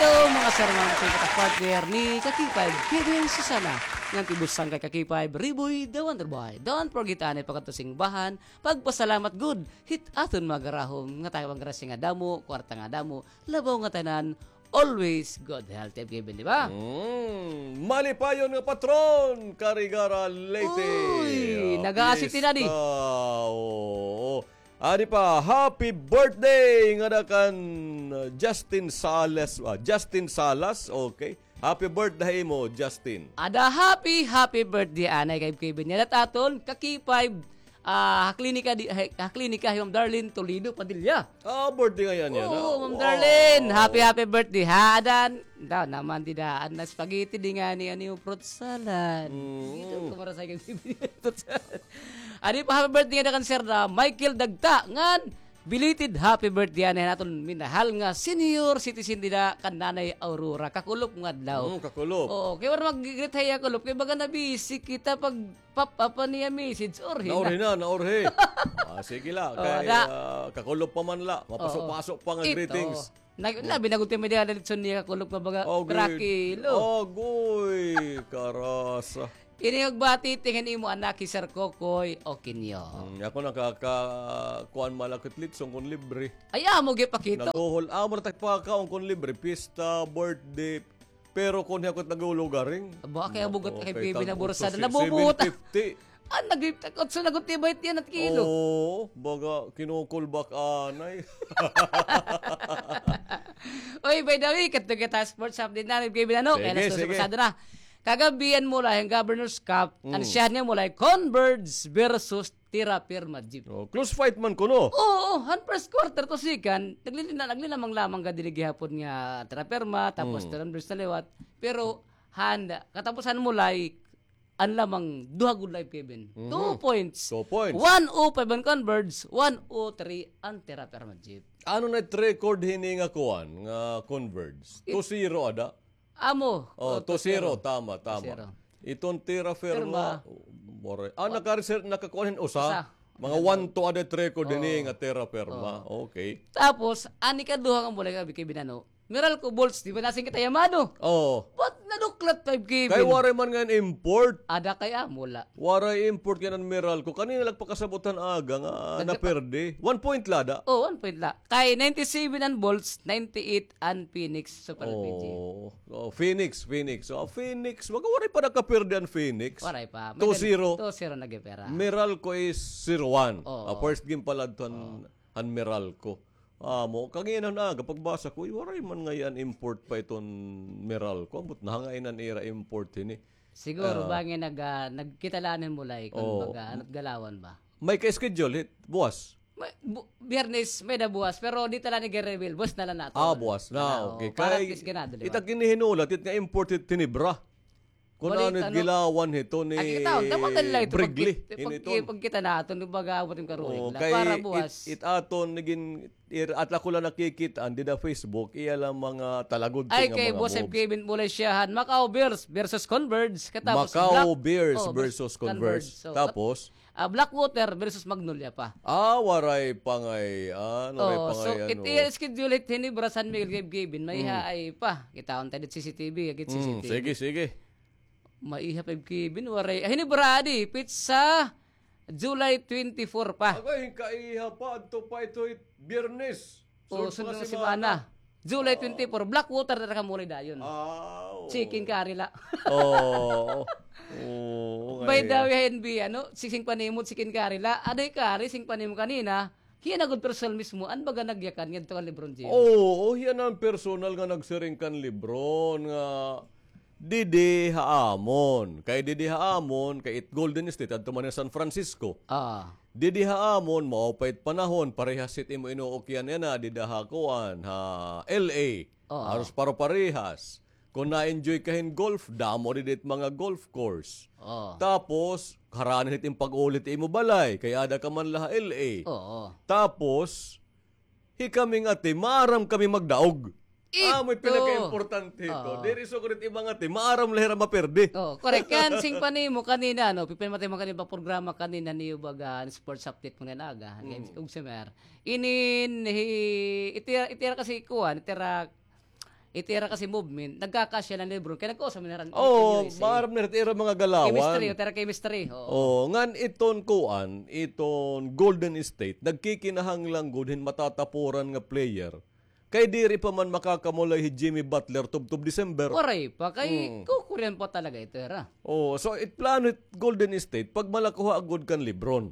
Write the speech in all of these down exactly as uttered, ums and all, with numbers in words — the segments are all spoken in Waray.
Hello, mga sir, mga sir, mga partner ni Kaki Five, Kevin Susana. Ngan ti bus-an kay Kaki Five, Riboy, the Wonder Boy. Don't forget, anay, pakadto simbahan, pagpasalamat gud hit aton mga garahom, nga tayo ang grasya nga damo, kwarta nga damo, labaw nga tanan, always good health, Kevin, di ba? Mm, malipayon nga patron, Carigara, Leyte. Uy, ah, nag-aasiti na di. Pista, oo. Adi pa, happy birthday ngada kan, uh, Justin Salas. Ah, Justin Salas, okay. Happy birthday ha imo, Justin. Ada happy, happy birthday, anay, kay Kevin. Ngada aton, Kaki Five, ah, ha klinika di, ha, ha klinika hi Ma'am Darlene Toledo Padilla. Ah, birthday ngay-an niya, ah. Oo, Ma'am Darlene, happy, happy birthday, ha, adan. Daw naman, dida, an spaghetti di ngani, ano, yung fruit salad. Mm. Dito, kumara sa akin, fruit salad. Adi pa, happy birthday ngada kan Sir, ah, Michael Dagta, ngan belated happy birthday anay han aton minahal nga senior citizen dida kan Nanay Aurora. Kakulop nga adlaw. Mm, kakulop. Oo, kay waray mag-greet ha iya kulop, kay baga na-busy kita pag pap-, apa niya message, urhi na. Naurhi na, naurhi. Ah, sige la, kay, ah, kakulop pa man la, mapaso-paso pa nga greetings. Nag-, labi na gud ti may dala litson niya kakulop nga baga, trakilo. Agoy, karasa. Ini og bati, tingin imo anak hi Sir Kokoy Okinyo. Hmm, ako nakaka-, kuan malakit litson kon libre. Ay, amo gipakita. Naguhol, amo na tagpakaon kon libre, pista, birthday, pero kon hiyakot nagulugaring. Aba, kay abugot kay Bibi na bursa na nabubuta. Seven fifty. Ah, nag-, otso na gud ti bayt niyan at kilo. Oo, baga kinukulbak anay. Oy, by the way, kadto kita sports update na, Bibi na, no? Kay sige, sige. Pasado na. Kagabi an Mulay, an Governor's Cup, an syahan nga Mulay, Converge versus Terra Firma Jeep. Oh, close fight man kuno. Oo, han first quarter to second, naglilina-, naglinamang-lamang gad didi gihapon nga Terra Firma, tapos Converge na liwat. Pero, han, katapusan Mulay, an lamang duha gud live, Kevin. Mhm. Two points. Two points. One oh five an Converge, one oh three an Terra Firma Jeep. Ano na it record hini nga kuan, nga Converge? Two zero ada? Amo. Oh, two zero, tama, tama. Two zero. Iton Terra Firma, more. Ah, nakareser-, nakakuan hin usa. Usa. Mga one two ada it record hini nga Terra Firma. Oo. Okay. Tapos, an ikaduha nga Mulay kagabi, Kevin, ano, Meralco Bolts, di ba nasing kita yamado? Oo. Ba't naduklat, five Kevin? Kay waray man ngay-an import. Ada kay amo la. Waray import ngay-an an Meralco. Kanina la pakasabot han aga nga naperde. One point la ada. Oh, one point la. Kay ninety-seven an Bolts, ninety-eight an Phoenix Super L P G. Oh, oh, Phoenix, Phoenix. Oh, Phoenix. Waray pa nakaperde an Phoenix. Waray pa. Two zero. Two zero na gipera. Meralco is zero one. Oo. Ah, first game pa la adto han, han Meralco. Amo, kagina na aga pagbasa ko, uy, waray man ngay-an import pa iton Meralco. Ambot na ngay-an an ira import hini. Siguro ba nga nag-, ah, nagkita la an Mulay kon baga, ano't galawan ba? May ka-schedule hit buwas? May, bu-, Biyernes, may-ada buwas, pero di ta la ini gi-reveal. Buwas na la naton. Ah, buwas na. Okay. Para at least ganado, di ba? Kay it ak ini hinulat, it nga import hit Ginebra. Kon ano it gilawan hito ni Brigley. Pagkita naton, di ba, gaabot it karuhig la. Para buwas. It aton, nagin, at la ko la nakikit-an dida Facebook, iya la mga talagod. Ay, kay Boss Kevin Mulay siyahan, Macau Bears versus Converge. Katapos Macau Bears versus Converge. Tapos? Ah, Blackwater versus Magnolia pa. Ah, waray pa ngay-an, waray pa ngay-an. So, it iya schedule hit hini, Bra San Miguel, Gabe Gavin, may haay pa. Kitaon ta dit C C T V, agit C C T V. Sige, sige. Maiha pa, Kevin, waray. Ay, hini, Brady, petsa July twenty-four pa. Agay, kaiha pa, adto pa ito, Biyernes. O, sunod nga semana. July twenty-four, Blackwater na ka muli dayon. Ah, oo. Chicken curry la. Oo. Oo, by the way, N B, ano, sing panimot, chicken curry la. Aday curry, sing panimot kanina. Hiya na gud personal mismo, an baga nagyakan ngadto kan Lebron James. Oo, hiya na an personal nga nagsiring kan Lebron nga didi ha amon. Kay didi ha amon, kay it Golden State, adto man ha San Francisco. Ah. Didi ha amon, maupay it panahon, parehas it imo inuukyan yana, dida ha kuan, ha L A. Oo. Haros paro-parehas. Kon na-enjoy ka hin golf, damo didi it mga golf course. Oo. Tapos, harani hit im pag-uli hit imo balay, kay ada ka man la ha L A. Oo. Tapos, hikami ngati, maaram kami magdaog. Amo it pinakaimportante hito. Diri sugad it iba ngati, maaram la hira maperde. Oo, correct. Kan sing panimo kanina, no, pipin mati mo kanina pa programa kanina niyo baga, sports update mo na aga. Mm. Ug si Mer. Inin, hi, itira, itira kasi kuan, itira It ira kasi movement, nagkakasya la ni LeBron. Kay nagkausa man hira, oh, maaram na hira it ira mga galawan. Chemistry, it ira chemistry. Oo. Oh, ngan iton kuan, iton Golden State, nagkikinahanglan gud hin matatapuran nga player. Kay diri pa man makakamulay hi Jimmy Butler tubtob December. Waray pa, kay kukurian pa talaga ito ira. Oh, so it plano it Golden State, pagmalakuha gud kan LeBron.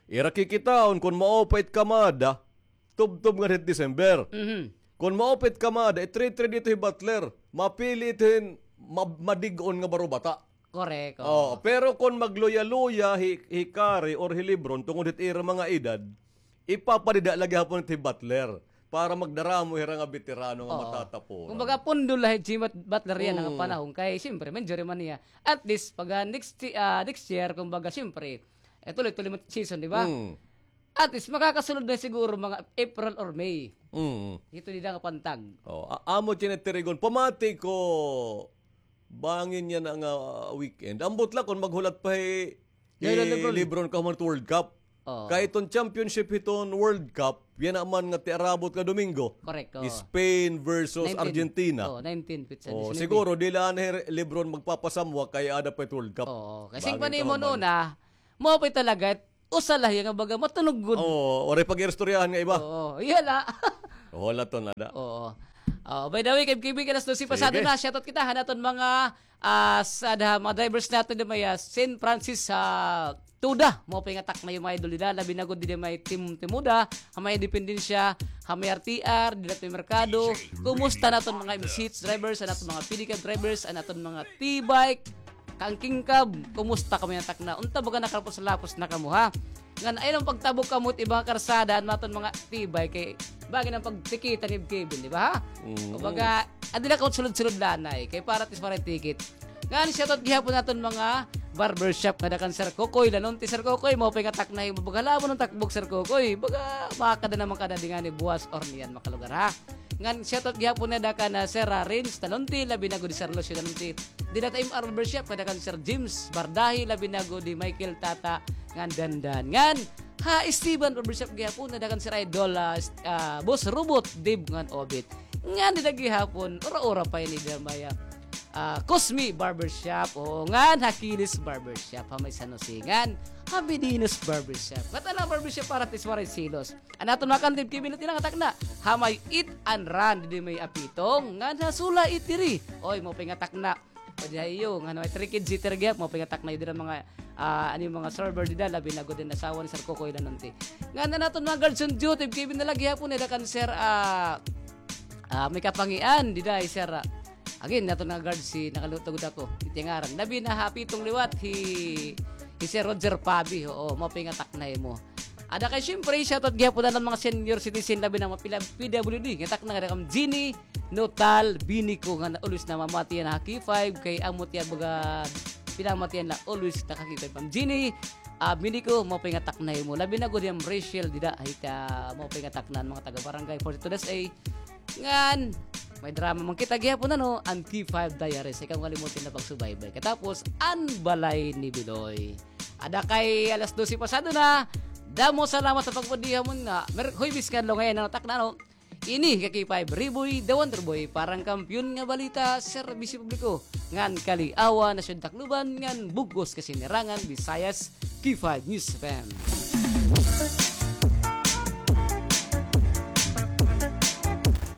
Ira kikitaon kon maupay it kamada, tubtob ngadto hit December. Mhm. Kon maupay it kamada, i-trade-trade ito hi Butler. Mapili ito hin ma-, madig-on nga barobata. Correct, oo. Oh, pero kon magluya-luya hi, hi Curry or hi LeBron tungod hit ira mga edad, ipapadida la gihapon ito hi Butler para magdaramo hira nga beterano nga matatapuran. Kumbaga, pundo la hi Jimmy Butler yana nga panahon kay siyempre, ma-injury man niya. At least, pag, ah, next, ah, next year, kumbaga, siyempre, eh, tuloy-tuloy man season, di ba? Mm. At least, makakasulod na siguro mga April or May. Mm. Ito dida nga pantag. Oh, a-, amo tinitirigon. Pamati ko, bangin yana nga, ah, weekend. Ambot la kon maghulat pa hi, hi LeBron kahuman hit World Cup. Oo. Kay iton championship hiton World Cup, yana man nga tiarabot nga Domingo. Correct, oo. Spain versus Argentina. Nineteen. Oo, nineteen, petsa disinuybe. Siguro, diri la anay hi LeBron magpapasamwa kay aada pa it World Cup. Oo. Kasi bangin pa nimo kahuman. Una, mao pa talaga, usa la hiya nga baga matunog gud. Oo, waray pag-iristoryahan nga iba. Oo, iya la. Wala to, nada. Oo. Ah, by the way, kay K B, alas dose pasado na, shoutout kita han aton mga, ah, sa, da, mga drivers naton dida may, ah, Saint Francis, ah, Toda. Maupay nga takna, mga idol, dida, labi na gud dida may Tim-, Timoda, ha may Independensya, ha may R T R, dida may merkado. Kumusta an aton mga M C H drivers, an aton mga pedicab drivers, an aton mga T-bike, kangkingkab, kumusta kamo yana takna? Unta baga nakalapos-lapos na kamo, ha? Ngan ayaw na pagtabok kamo hit iba nga karsada, an aton mga T-bike kay bangin an pagtikitan ni Kevin, di ba, ha? Mm. Kumbaga, adi na kamo sulod-sulod la anay, kay para at least waray ticket. Ngan shoutout gihapon aton mga barbershop nga da kan Sir Kokoy Lanonti. Sir Kokoy, maupay nga takna ha imo. Baga la mo nga takbok, Sir Kokoy. Baga makada naman ka na dinhi ngani buwas or niyan makalugar, ha? Ngan shoutout gihapon na da kan, ah, Sir, ah, Renz Talonti, labi na gud hi Sir Lucio Talonti. Dida ha imo barbershop, nga da kan Sir James Bardahi, labi na gud hi Michael Tata, ngan Dandan. Ngan ha Esteban Barbershop gihapon, nga da kan Sir Idol, ah, s-, ah, Boss Robot, Dave, ngan Obit. Ngan dida gihapon, ura-ura pa ini dida may, ah, ah, Cosme Barbershop, oo, ngan ha Kilis Barbershop, ha may San Jose, ngan ha Bedinos Barbershop. Ngatanan nga barbershop para at least waray selos. An aton mga kandib, Kevin, ito nga takna. Ha may Eat and Run, didi may Apitong, ngan ha Sula Eatery. Oy, maupay nga takna. O di ha iyo, ngan ha may Three Kids Eatery gihap, maupay nga takna dida mga, ah, ano, mga server dida, labi na gud an asawa ni Sir Kokoy Lanonti. Ngan an aton mga guards on duty, Kevin, na la gihapon, dida kan Sir, ah, ah, may Kapangian, dida hi Sir, ah, again, aton nga guards, hi, nakalutog ako, ito nga ngaran. Labi na ha Apitong liwat, hi, hi Sir Roger Pabi, oo, maupay nga takna ha imo. Ada kay, siyempre, shoutout gihapon an mga senior citizen, labi na mga pila-, P W D. Nga takna nga da kan Jeannie Notal Binico nga na-, always namamatian ha K five, kay amo tiya baga pinamatian la always ta ka K five, Ma'am Jeannie. Ah, Binico, maupay nga takna ha imo. Labi na gud hi Ma'am Rachel dida, hita, maupay nga takna an mga taga Barangay forty-two S A. Ngan, may drama man kita gihapon, ano, an K five Diaries. Ayaw kamo kalimutan nga pagsubaybay. Katapos, an Balay ni Biloy. Ada kay alas dose pasado na. Damo salamat ha pagbudiha mo na. Mer-, Huwebes nga adlaw ngay-an an takna, no? Ini ka K five Riboy, The Wonder Boy, para han Kampiyon nga Balita, Serbisyo Publiko, ngan Kaliawan ha Siyudad Tacloban, ngan bug-os kasinirangan, Visayas, K five News F M.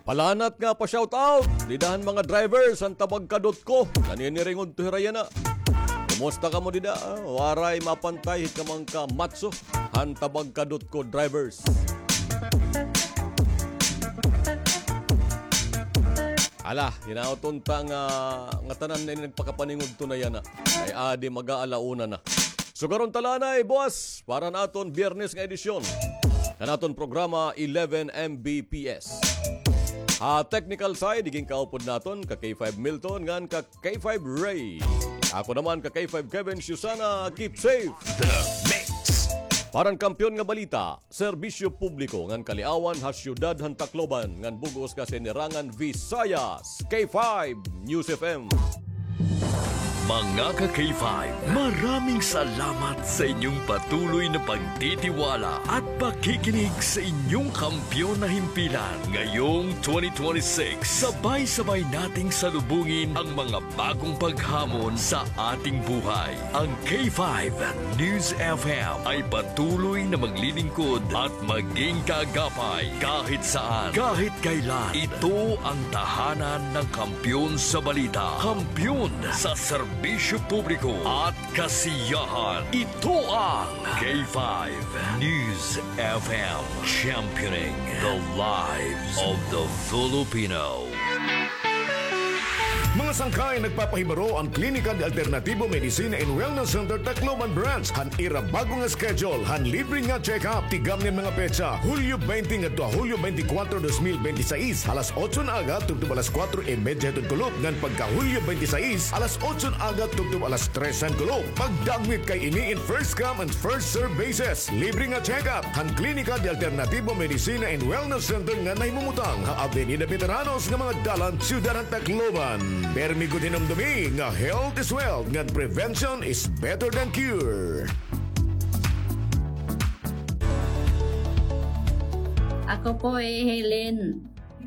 Palanat nga pa-shoutout dida han mga drivers han Tabagkadutco. Naniniringod to hira yana. Kumusta kamo dida? Waray mapantay hit kamangka matso han Tabagkadutco drivers. Hala, hinaot unta nga, ngatanan na ini nagpakapaningudto na yana. Ay adi mag-aala una na. Sugaron ta la anay buwas para han aton Biyernes nga edisyon han aton programa eleven M B P S. Ha technical side, igin kaupod naton ka K five Milton ngan ka K five Ray. Ako naman ka K five Kevin Susana, keep safe. The Mix. Para han Kampiyon nga Balita, Serbisyo Publiko ngan Kaliawan ha Siyudad han Tacloban ngan bug-os kasinirangan, Visayas, K five News F M. Mga ka-K five, maraming salamat sa inyong patuloy na pagtitiwala at pakikinig sa inyong kampiyon na himpilan. Ngayong twenty twenty-six, sabay-sabay nating salubungin ang mga bagong paghamon sa ating buhay. Ang K five News F M ay patuloy na maglilingkod at maging kaagapay kahit saan, kahit kailan. Ito ang tahanan ng kampiyon sa balita, kampiyon sa serbisyo publiko at kasiyahan. Ito ang K five News F M, championing the lives of the Filipino. Mga sangkay, nagpapahibaro an Klinika de Alternativo Medicina and Wellness Center Tacloban Branch han ira bag-o nga schedule han libre nga check-up. Tigamni an mga petsa, Hulyo twenty ngadto ha Hulyo twenty-four, dos mil bente y seis, alas otso nga aga tubtob alas kuwatro y medya hiton kulop, ngan pagka Hulyo twenty-six, alas otso nga aga tubtob alas tres han kulop. Pagdagmit kay ini in first come and first serve basis. Libre nga check-up han Klinika de Alternativo Medicina and Wellness Center nga nahimumutang ha Avenida Veteranos nga mga dalan, Syudad han Tacloban. Permi gud hinumdomi nga health is wealth, ngan prevention is better than cure. Ako po, eh, Helen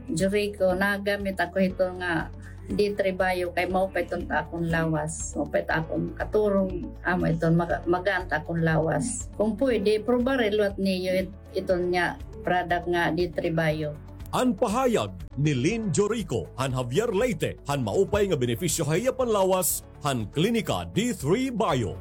Jurico, nagamit ako hito nga D three Bio kay maupay iton ta akon lawas. Maupay ta akon katurog, amo iton maga-, magaan ta akon lawas. Kung pwede, probare liwat niyo it-, iton nga product nga D three Bio. An pahayag ni Lynn Jorico han Javier Leyte han maupay nga benepisyo ha iya panlawas han Klinika D three Bio.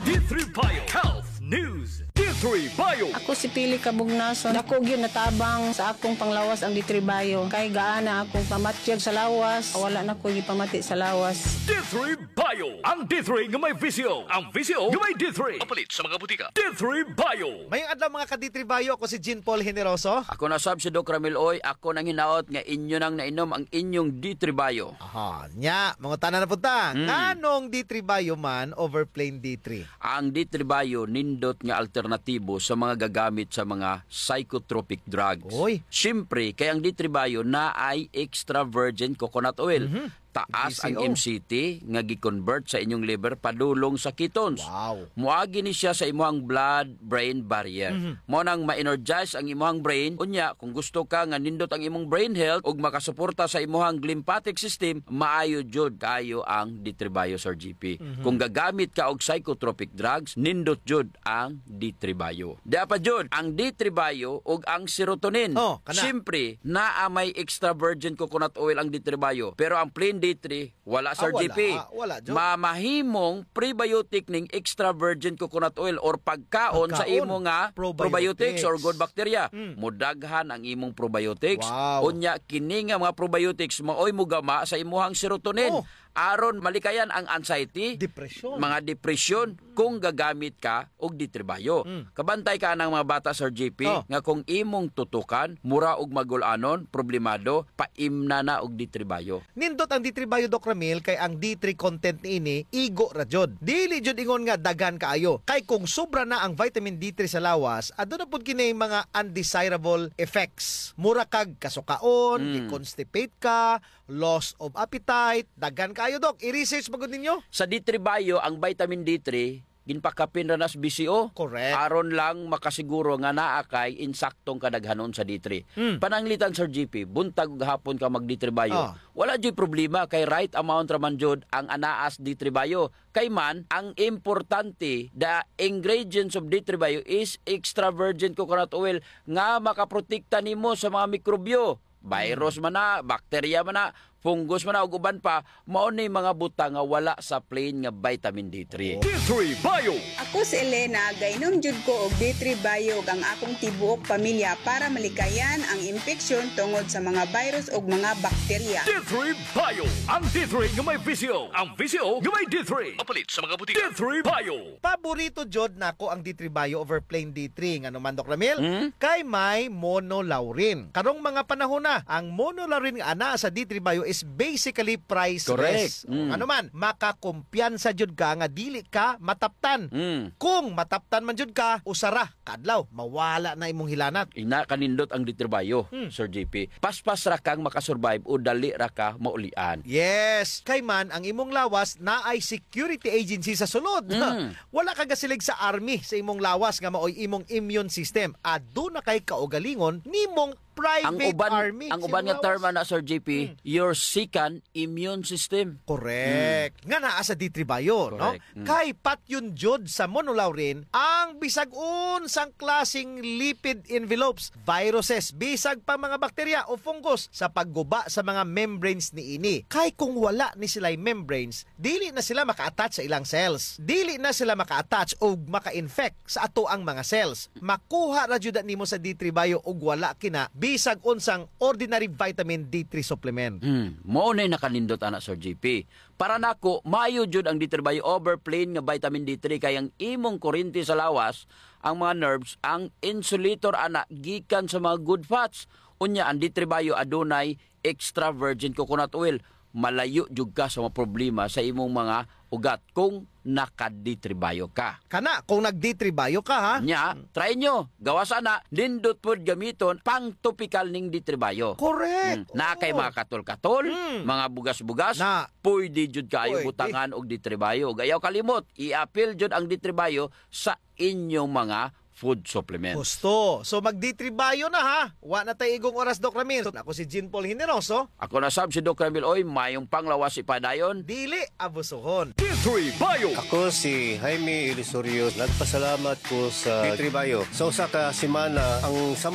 D three Bio Health News. D three Bio. Ako si Pili Kabugnason. Dako gyud natabang sa akong panglawas ang D three Bio. Kay gaana akong pamatyag sa lawas, wala na ko gipamati sa lawas. D three Bio. Ang D three nga may V C O. Ang V C O nga may D three. Mapalit sa mga butika. D three Bio. Mayong adlaw, mga ka-D three Bio. Ako si Jean Paul Generoso. Ako na sab si Doc Ramil Oy. Ako nanghinaot nga inyo nang nainom ang inyong D three Bio. Aha, nya, mangutana na pud ta. Hmm. Nganong D three Bio man over plain D three? Ang D three Bio nindot nga alternatibo sa mga gagamit sa mga psychotropic drugs. Oy. Siyempre, kay ang D three Bio naay extra virgin coconut oil. Mhm. Taas ang M C T nga gi-convert sa inyong liver padulong sa ketones. Wow. Moagi ni siya sa imuhang blood-brain barrier. Mhm. Mao nang ma-energize ang imuhang brain. Unya, kung gusto ka nga nindot ang imong brain health ug makasuporta sa imuhang lymphatic system, maayo jud kaayo ang D three Bio, Sir G P. Mhm. Kung gagamit ka og psychotropic drugs, nindot jud ang D three Bio. Dia pa jud, ang D three Bio ug ang serotonin. Oh, kana. Siyempre, naa may extra virgin coconut oil ang D three Bio, pero ang plain D three, wala, Sir G P. Ah, wala. Wala jud. Mamahimong prebiotic ning extra virgin coconut oil or pagkaon sa imo nga probiotics or good bacteria. Mm. Modaghan ang imong probiotics. Wow. Unya, kini nga mga probiotics maoy mogama sa imuhang serotonin. Oh. Aron malikayan ang anxiety, depresyon, mga depresyon, kung gagamit ka og D three Bio. Mm. Kabantay ka anang mga bata, Sir G P, oh, nga kung imong tutukan, mura og magul-anon, problemado, paimna na og D three Bio. Nindot ang D three Bio, Doc Ramil, kay ang D three content niini, igo ra jud. Dili jud ingon nga daghan kaayo. Kay kung sobra na ang vitamin D three sa lawas, aduna pud kini mga undesirable effects. Mura kag kasukaon, mm, i-constipate ka, loss of appetite, daghan kaayo, Doc. I-research ba gud ninyo? Sa D three Bio, ang vitamin D three, ginpakapin ra nas B C O. Correct. Aron lang makasiguro nga naa kay insaktong kadaghanon sa D three. Hmm. Pananglitan, Sir G P, buntag ug hapon ka mag D three Bio. Ah. Wala juy problema kay right amount ra man jud ang anaas D three Bio. Kay man, ang importante, the ingredients of D three Bio is extra virgin coconut oil nga makaprotekta nimo sa mga mikrobyo. Virus man na, bakterya man na, fungus man na, ug uban pa, mao ni mga butang nga wala sa plain nga vitamin D three. D three Bio. Ako si Elena, gainom jud ko og D three Bio ug ang akong tibuok pamilya para malikayan ang impeksyon tungod sa mga virus ug mga bakterya. D three Bio. Ang D three nga may V C O. Ang V C O nga may D three. Mapalit sa mga butika. D three Bio. Paborito jud nako ang D three Bio over plain D three. Ngano man, Doc Ramil? Hmm? Kay may monolaurin. Karong mga panahon na, ang monolaurin nga anaa sa D three Bio is basically priceless. Correct. Mm. Ano man, makakumpiyansa jud ka nga dili ka mataptan. Mm. Kung mataptan man jud ka, usa ra ka adlaw, mawala na imong hilanat. Ina kanindot ang D three Bio, hmm, Sir J P. Paspas ra kang makasurvive o dali ra ka maulian. Yes. Kay man, ang imong lawas naay security agency sa sulod. Mm. Wala ka gasilig sa army sa imong lawas nga maoy imong immune system. Aduna kay kaugalingon nimong private army. Ang uban nga term ana, Sir J P, hmm, your second immune system. Correct. Hmm. Nga naa sa D three Bio, no? Correct. Hmm. Kay patyon jud sa monolaurin ang bisag unsang klaseng lipid envelopes, viruses, bisag pa mga bakterya o fungus sa pagguba sa mga membranes niini. Kay kung wala ni sila'y membranes, dili na sila maka-attach sa ilang cells. Dili na sila maka-attach o maka-infect sa atoang mga cells. Makuha ra jud nimo sa D three Bio ug wala kina bisag unsang ordinary vitamin D three supplement. Hmm, mao nay nakanindot ana, Sir J P. Para nako, maayo jud ang D three Bio over plain nga vitamin D three kay ang imong kurente sa lawas, ang mga nerves, ang insulator ana gikan sa mga good fats. Unya, ang D three Bio adunay extra virgin coconut oil. Malayo jud ka sa mga problema sa imong mga ugat kung naka-D three Bio ka. Kana, kung nag-D three Bio ka, ha? Nya, try nyo. Gawas ana, nindot pod gamiton, pang topikal ning D three Bio. Correct. Hmm. Naa kay mga katol-katol, hmm, mga bugas-bugas, na, pwede jud kaayo butangan og D three Bio. Ug ayaw kalimot, i-apil jud ang D three Bio sa inyong mga food supplements. Husto. So, mag-D three Bio na, ha? Wa na tay igong oras, Doc Ramil. So, ako si Jean Paul Generoso. Ako na sab si Doc Ramil. Oy, mayong panglawas ipadayon. Dili abusuhon. D three Bio. Ako si Jaime Ilusorio. Nagpasalamat ko sa D three Bio. Sa usa ka semana, ang sama